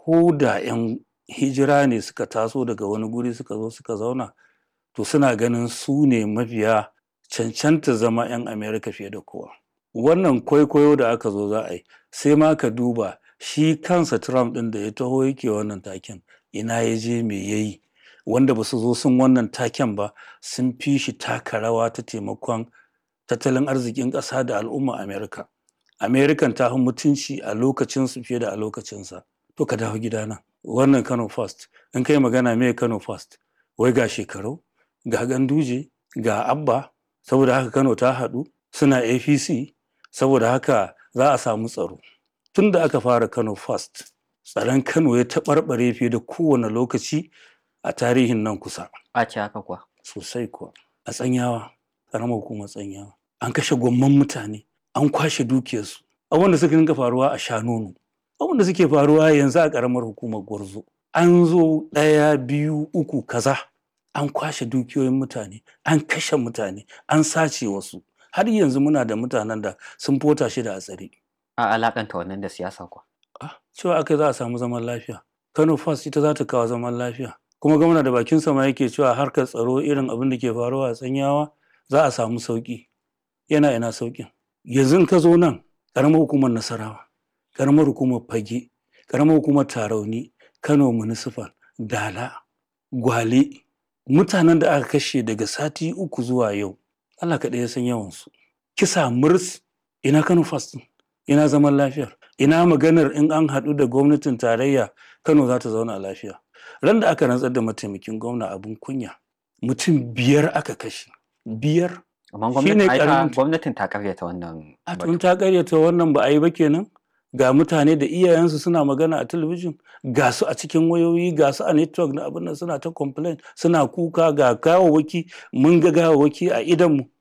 Ko da 'yan hijira ne suka taso daga wani guri suka zo suka zauna, to suna ganin su ne mafiya cancanta zama 'yan Amerika fiye da kowa. Wannan kwaikwayo da aka zo za a yi, sai ma ka duba shi kansa Trump ɗin da ya taho yake wannan taken, ina ya je, me ya yi? Wanda ba su zo sun wannan taken ba sun fi shi taka rawa ta taimakon tattalin arzikin ƙasa da al'umma Amerika. Amerikan ta fi mutunci a lokacinsu fiye da a lokacinsa. To ka dawo gidana. Wannan Kano First, in kai magana me Kano First? Wai ga Shekaru, ga Ganduje, ga Abba, saboda haka Kano ta haɗu, suna APC, saboda haka za a samu tsaro. Tun da aka fara Kano First, tsaron Kano ya taɓarɓare fiye da kowane lokaci a tarihin nan kusa. A ce haka kuwa. Sosai kuwa. A Tsanyawa, ƙaramar hukumar Tsanyawa, an kashe gwamman mutane, an kwashe dukiyarsu. Abubuwan da suka dinga faruwa a Shanono, abubuwan da suke faruwa yanzu a ƙaramar hukumar Gwarzo. An zo ɗaya, biyu, uku, kaza. An kwashe dukiyoyin mutane, an kashe mutane, an sace wasu. Har yanzu muna da mutanen da sun fota shida a tsare. A alakanta wannan da siyasa kuwa. Ah, cewa aka za a samu zaman lafiya. Kano First ita za ta kawo zaman lafiya. Kuma gwamna da bakinsa ma yake cewa harkar tsaro irin abin da ke faruwa a Tsanyawa za a samu sauƙi. Yana ina sauƙin? Yanzu in ka zo nan, ƙaramar hukumar Nasarawa, ƙaramar hukumar Fage, ƙaramar hukumar Tarauni, Kano Municipal, Dala, Gwale, mutanen da aka kashe daga sati 3 zuwa yau, Allah kaɗai ya san yawansu. Kisa murs, ina Kano First ɗin? Ina zaman lafiyar? Ina maganar in an haɗu da gwamnatin tarayya Kano za ta zauna lafiya? Ran da aka rantsar da mataimakin gwamna abin kunya, mutum 5 aka kashe. 5. Amma Shi ne gwamnatin ai ta ƙaramin gwamnatin ta ƙaryata wannan A batu. tun ta ƙaryata wannan ba a yi ba kenan? Ga mutane da iyayensu suna magana a talabijin, ga su a cikin wayoyi, ga su a network na abin nan suna ta complain, suna kuka ga gawawwaki, mun ga gawawwaki a idonmu.